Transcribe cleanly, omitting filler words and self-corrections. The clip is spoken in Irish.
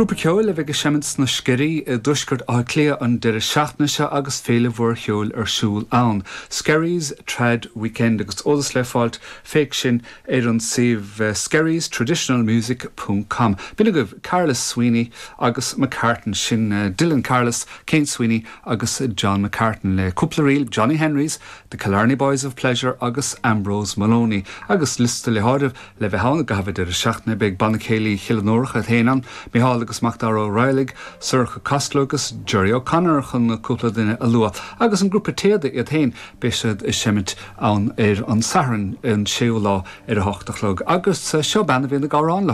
Grúpa ceoil a bheidh ag seimint sna Sceirí i dtuaisceart Átha Cliath an deireadh seachtaine seo agus féile mhór cheoil ar siúl ann, Skerries Trad Weekend, agus eolas le fáilt, féach sin ar an suíomh skerriestraditionalmusic ponc com. B'in agaibh Carlos Sweeney agus McCartan, sin Dylan Carlos, Cian Sweeney agus John McCartan le cúpla ríl, Johnny Henrys, The Killarney Boys of Pleasure agus Ambrose Moloney agus liosta le háireamh Le bheith ann i gcaitheamh an deireadh seachtaine beidh Banna Céilí Chill an Iúrach iad féin ann, Micheál agus Macdara Ó Raghallaigh, Sorcha Costello agus Gerry O'Connor chun cúpla duine a lua. Agus an grúpa Téada iad féin, beidh siad ag seimint ann ar an Satharn an séú lá ar a hocht a chlog. Agus seo bean a bhíonn ag amhrán le.